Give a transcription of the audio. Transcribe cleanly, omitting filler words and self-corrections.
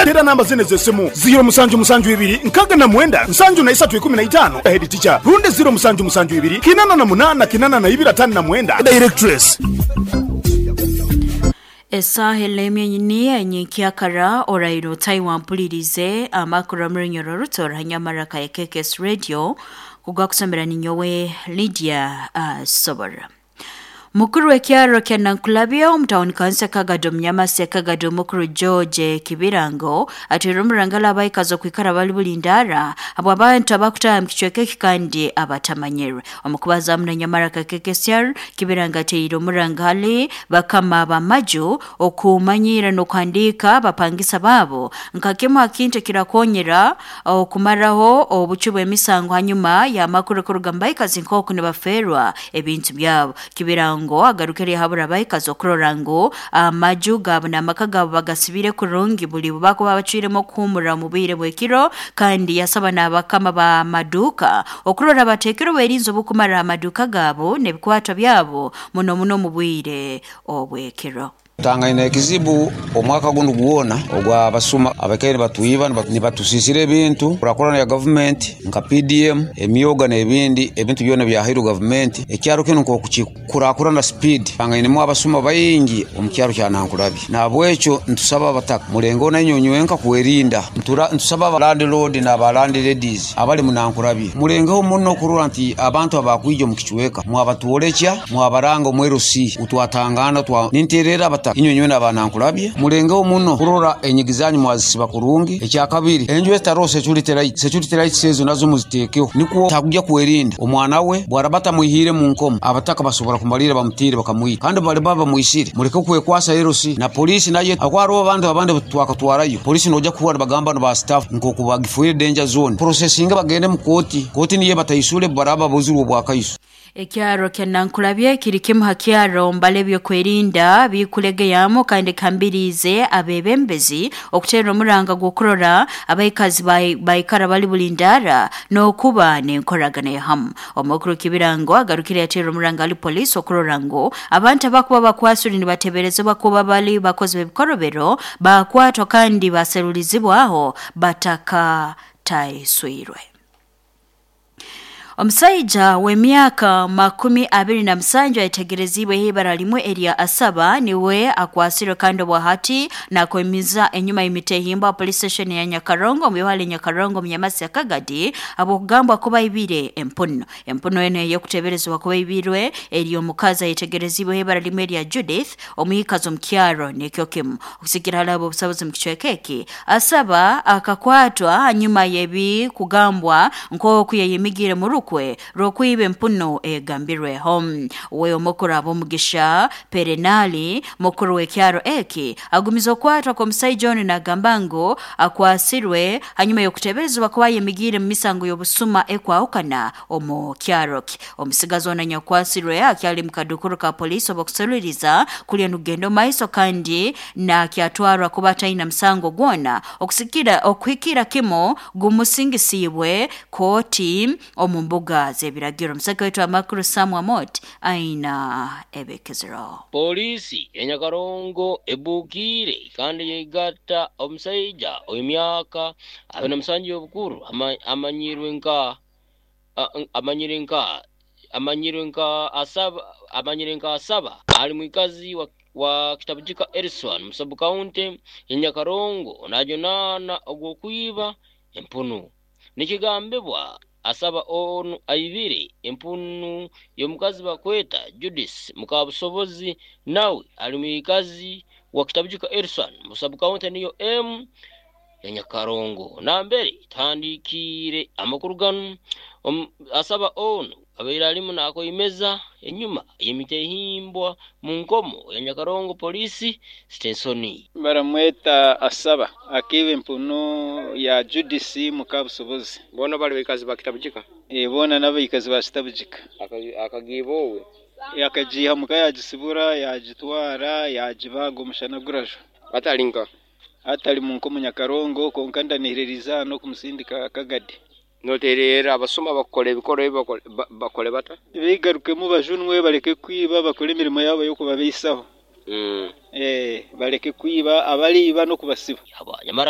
Tera namba zene z'essimu 0772 69 73 15, Head Teacher, rundi 0772 88 82 59, Directress. Esaaha enemyenyini enyenkyakara oraire otaiwa mpulirize amakuru omurunyoro ruto nyamaraka ya KKS Radio kugwakusomera ninyowe Lydia Sobora. Mukuru w'ekyaro kya Nankulabye omu tawuni kanisa Kagado Munyamasi Kagado mukuru George Kibirango atwire omurangala abaikazi okwikara bali bulindara abo abantu abakutaaha mu kicweka eki kandi abatamanyirwe. Omu kubaza na Nyamaraka KKSR, Kibirango ateire omurangali bakama b'amaju okumanyira n'okuhandiika abapangisa baabo nka kimu ha kintu ekirakonyera okumaraho obucwi bw'emisango hanyuma y'amakuru kuruga mu baikazi nk'oku nibaferwa ebintu byabo. Kibirango agarukire yahabura abaikazi okurora ngu amaju gaabo n'amaka gaabo bagasibire kurungi buli bakuba bacwiremu okuhumura omu bwire bw'ekiro, kandi yasaba n'abakama b'amaduuka okurora bateekere obwerinzi obukumara amaduuka gaabo n'ebikwatwa byabo muno muno omu bwire obw'ekiro. Tangaine ekizibu omwaka guno gwona ogwa basuma abakaire batwiba nibatusisira ebintu kurakurana ya gavumenti nka PDM emyoga n'ebindi ebintu byona byahairwe gavumenti. Ekyaro kinu nk'okukikurakurana speed, tangainemu abasuma baingi omu kyaro kya Nankulabye. Nahabwekyo ntusaba abataka mulengeho nainywe nywenka kwerinda. Ntusaba aba landlord n'aba landladies abali mu Nankulabye mulengeho muno kurora nti abantu abakwija omu kicweka mwabatwolekya mwabaranga omu LC utwatangana ninterera abataka inywe nywena aba Nankulabye mulengeho muno kurora enyigi zanyu mwazisiba kurungi. Ekyakabiri, enju ezitaroho security lights, security lights ezo nazo muziteekeho nikwo takujya kwerinda omwana we bwaraba atamwihire mu nkomo. Abataka basobora kumalira bamutiire bakamwita, kandi bali baba bamwisire muleke kwekwasa LC na polisi naye aho hariho abantu abandi twakatwarayo polisi nojya kuhura bagamba ba staff nkoku bagifuire danger zone processing bagende mu koti, koti niye bataisule baraba buzirwe bwakaiso. Ekyaro kya Nankulabye kiri kimu ha kyaro mbale ebyokwerinda bikulegeyamu kandi kambiriize abebembezi okuteera omuranga gw'okurora abaikazi baikara bali bulindara n'okuba n'enkoragana ya hamu. Omukuru Kibirango agarukire yateera omuranga ali poliisi okurora ngu abantu abakuba bakwasire nibateberezebwa kuba bali bakozi b'ebikorobero bakwatwa kandi baserulizibwaho bataka taiswirwe. Omusaija w'emyaka 27 ayetegerezibwe ibara limwe erya Asaba niwe akwasirwe kandi obwahati nakwemiza enyuma y'emitehimbwa police station ya Nyakarongo mu bihale Nyakarongo mu Nyamasi ya Kagadi abokugambwa kuba ibire empuno. Empuno eno ey'okuteberezebwa kuba ibirwe eri omukazi ayetegerezibwe ibara limwe erya Judith omwikazi omu kyaro nikyo kimu. Okusikira hali abo obusabuzi mu kicweka eki, Asaba akakwatwa hanyuma y'ebi kugambwa nk'oku yayemigire mu rukwe rw'okwiba empuno egambirweho. We omukuru ab'omugisha Perenali mukuru w'ekyaro eki agumiza okwatwa kw'omusaija onu nagamba ngu akwasirwe hanyuma y'okuteberezebwa kuba ayemigiire mu misango y'obusuma ekwahukana omu kyaro kye. Omusigazi onu anyakwasirwe akyali mu kadukuru ka poliisi obw'okuseruliriza kulya nukugenda omu maiso kandi nakyatwarwa kuba ataina musango gwona okusikira okuhikira kimu gumusingisiibwe kooti omu mbuga z'ebiragiro. Omusaka waitu amakuru Sam Amot aina ebekezero. Poliisi ya Nyakarongo ebukiire kandi yegatta omusaija ow'emyaka 27 y'obukuru amanyirwe nka Asaba ali mwikazi wa Kitabujika Erison mu sub county ya Nyakarongo najunaana ogw'okwiba empunu. Nikigambibwa Asaba onu aibire empunu y'omukazi bakweta Judith Mukabusobozi nawe ali mwikazi wa Kitabujika Erison mu sub county niyo M ya Nyakarongo. Nambere tuhandikiire amakuru ganu, Asaba onu abaire alimu nakoimeza enyuma y'emitehimbwa mu nkomo ya Nyakarongo polisi station. Baramweta Asaba akiba empunu ya Judith Mukabusobozi. Bona bali baikazi ba Kitabujika? Bona n'abaikazi ba Kitabujika. Akagiba owe? Akagiha muka yagisibura yagitwara yagibaga omushana gurajo. Atalinka? Atali mu nkomo Nyakarongo konka ndanihiririza hano kumusindika Kagadi. Noterera abasuma bakora ebikorwa ebi bakole bata? Bigarukemu bajunwe baleke kwiba bakole emirimo yabo y'okubabeisaho. Baleke kwiba abaliiba n'okubasiba. Nyamara